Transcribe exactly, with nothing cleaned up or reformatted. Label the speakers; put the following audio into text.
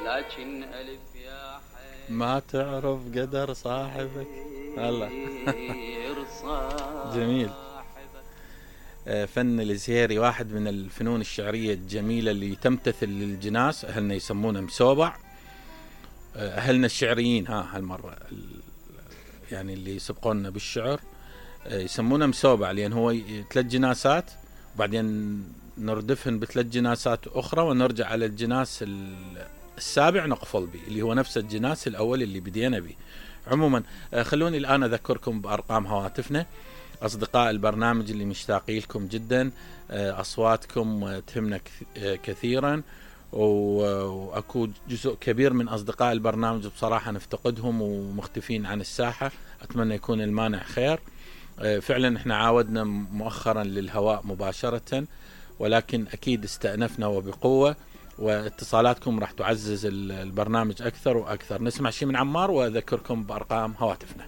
Speaker 1: لكن ألف يا ما تعرف قدر صاحبك. الله جميل. فن الزهيري واحد من الفنون الشعرية الجميلة اللي تمتثل للجناس. أهلنا يسمونه مسوبع، أهلنا الشعريين ها هالمرة يعني اللي يسبقوننا بالشعر يسمونه مسوبع، لأن هو ثلاث جناسات وبعدين نردفهن بثلاث جناسات أخرى ونرجع على الجناس السابع نقفل به، اللي هو نفس الجناس الأول اللي بدينا به. عموما خلوني الآن أذكركم بأرقام هواتفنا. أصدقاء البرنامج اللي مشتاقين لكم جدا، أصواتكم تهمنا كثيرا، وأكو جزء كبير من أصدقاء البرنامج بصراحة نفتقدهم ومختفين عن الساحة. أتمنى يكون المانع خير. فعلا احنا عاودنا مؤخرا للهواء مباشرة، ولكن أكيد استأنفنا وبقوة، واتصالاتكم راح تعزز البرنامج أكثر وأكثر. نسمع شيء من عمار وأذكركم بأرقام هواتفنا.